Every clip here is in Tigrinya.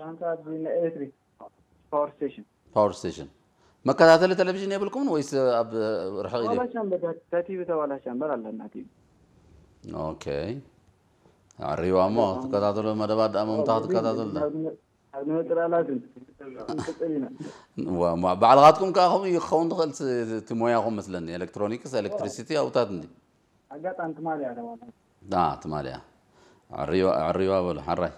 ሻንካ ኣብዚ ናይ ኤሌክትሪክ ፓወር ስቴሽን። ፓወር ስቴሽን። መከታተሊ ቴሌቪዥን የብልኩምን ወይስ ኣብ ርሕቕ ኢሉ? ተባላ ሻምበር፣ ተቲቪ ተባላ ሻምበር ኣለና ቲቪ። ኦኬ። ኣሪዋ እሞ ትከታተሉ መደባት ደኣ መምታ ክትከታተሉ ዳ? ኣብ ንመጥራላትን ቅጽል ኢና። ዋ- ዋ- ባዕልኻትኩም ከዓ ከምኡ እዩ ክኸውን ትኽእል ስ- እቲ ሞያኹም መስለኒ። ኤሌክትሮኒክስ፣ ኤሌክትሪሲቲ ኣውታት እንዲ ኣጋጣሚ ትማሊ እያ ተባላ። ትማሊያ። ኣሪዋ ኣሪዋ በሉ ሓራይ።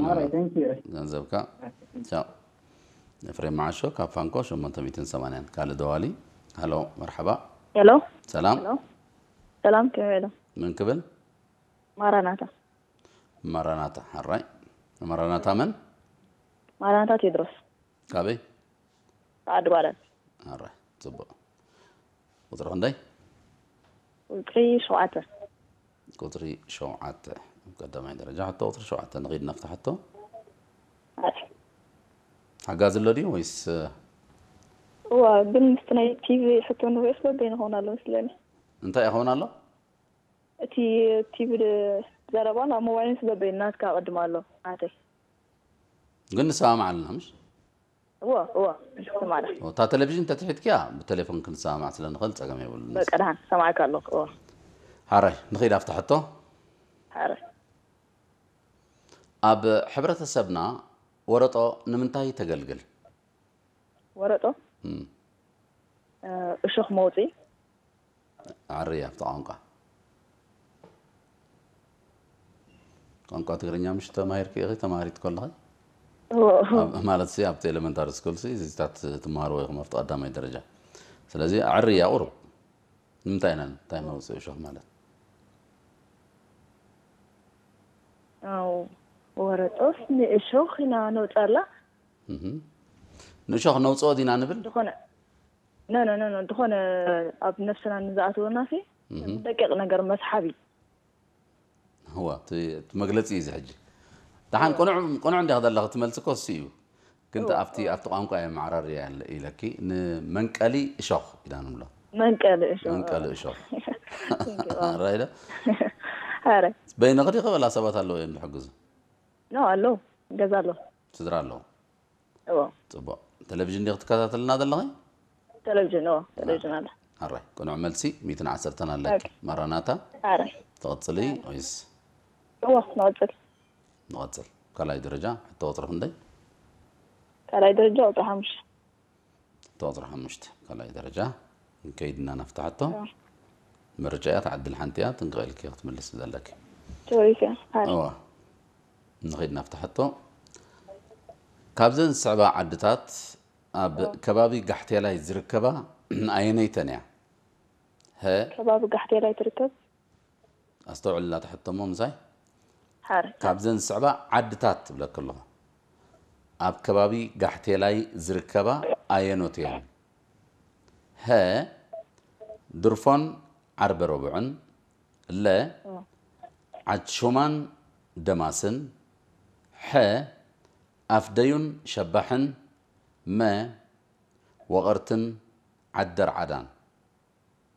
ማራይ፣ thank you። ገንዘብካ። ቻው። ኤፍሬም መዓሾ ካብ ፋንኮ ሸሞንተ ሚእትን ሰማንያን። ካልእ ደዋሊ። ሃሎ፣ መርሓባ። ሄሎ ሰላም። ሄሎ ሰላም፣ ከመይ ኢሎም? መን ክብል? ማራናታ። ማራናታ ሓራይ። ማራናታ መን? ማራናታ ቴድሮስ። ካበይ? ዓዲ ባላት። ሓራይ። ጽቡቕ። ቁጽሪ ክንደይ? ቁፅሪ ሸውዓተ። ቁጽሪ ሸውዓተ። ቀዳማይ ደረጃ ሕቶ ቁጽሪ ሸውዓተ። ንኺድ ናብቲ ሕቶ። ሓጋዚ ኣሎ ድዩ ወይስ? እዋ፣ ግን ምስቲ ናይ ቲቪ ሕቶ ንሪኦ ስለ በይኑ ክኸውን ኣሎ መስለኒ። እንታይ ይኸውን ኣሎ? እቲ ቲቪ ዘረባን ኣብ ሞባይልን ስለ በይኑ ናትካ ኣቐድም ኣሎ ናተይ። ግን ንሰማማዕ ኣለና ምሽ? እዋ እዋ ንስማዕና። እታ ቴሌቪዥን ተትሒድክያ ብቴሌፎን ክንሰማማዕ ስለ ንኽእል ጸገም የብሉን። በቃ ደሓን ሰማዕካ ኣለኹ። እዋ ሓራይ ንኺድ ኣብታ ሕቶ። ሓረ ኣብ ሕብረተሰብና ወረጦ ንምንታይ ተገልግል? ወረጦ እም፣ እ፣ እሾኽ መውፅኢ። ኣሪ ኣብቲ ቋንቋ ቋንቋ ትግርኛ ምሽ ተማሂርኪ ኢኺ ተማሃሪት ከለኺ? እዎ። ኣብ- ማለት ሲ ኣብቲ ኤሌመንታሪ ስኩል ሲ እዚታት ትመሃርዎ ኢኹም ኣብቲ ቀዳማይ ደረጃ። ስለዚ ኣዕርያ ቁሩብ ንምንታይ ኢና እንታይ መውፅኢ እሾኽ ማለት? ኣው፣ ወረጦስ ንእሾኽ ኢና ነውፃላ። እህ። ንእሾኽ ነውፅኦ ዲና ንብል? ዝኾነ ኖ ኖ ኖ ኖ ዝኾነ ኣብ ነፍስና ንዝኣትወና ሲ እህ። ደቂቕ ነገር መስሓቢ። እዋ እቲ እቲ መግለፂ እዩ እዚ ሕጂ። ደሓን ቅኑዕ ቅኑዕ እንዲያ ዘለኺ ትመልሲ እኮ እሱ እዩ። ግን ኣብቲ ኣብቲ ቋንቋ እየ ማዕራርያ ያለ ኢለኪ ንመንቀሊ እሾኽ ኢና ንብሎ። መንቀሊ እሾ መንቀሊ እሾኽ። ራይዳ ኣረ በይንኺ ዲኺ ወላ ሰባት ኣለዉ እዮም ዝሕግዙ? ኖ ኣሎ ገዛ ኣሎ። ስድራ ኣለዉ። እዎ ፅቡቅ። ቴሌቪዥን ዲኺ ትከታተልና ዘለኺ? ቴሌቪዥን እዎ ቴሌቪዥን ኣሎ። ኣራይ ቅኑዕ መልሲ ሚእትን ዓሰርተን ኣለኪ። ማራናታ ኣረ ትቕፅሊ ወይስ? እዎ ንቐፅል። ንቐፅል። ካልኣይ ደረጃ ሕቶ ቁፅሪ ክንደይ? ካልኣይ ደረጃ ቁፅሪ ሓሙሽተ። ሕቶ ቁፅሪ ሓሙሽተ ካልኣይ ደረጃ። ንከይድና ናፍታ ሕቶ። ምርጫ እያ ትዓድል ሓንቲ እያ ጥንቅቕ ኢልኪ ክትምልስ ዘለኪ። ቶሪስ እያ። ኣረ እዋ ንኸይድ ናፍታ ሕቶ። ካብዘን ዝስዕባ ዓድታት ኣብ ከባቢ ጋሕቴላይ ዝርከባ ኣየነይተን እያ? ሀ ከባቢ ጋሕቴላይ ትርከብ። ኣስተውዕልላ ትሕቶ እሞ ምሳይ። ሓር ካብዘን ዝስዕባ ዓድታት ትብለኪ ኣለኹ። ኣብ ከባቢ ጋሕቴላይ ዝርከባ ኣየኖት እየን? ሀ ድርፎን ዓርበ ረቡዕን፣ ለ ዓድ ሹማን ደማስን፣ ሐ ኣፍደዩን ሸባሕን፣ መ ወቐርትን ዓደር ዓዳን።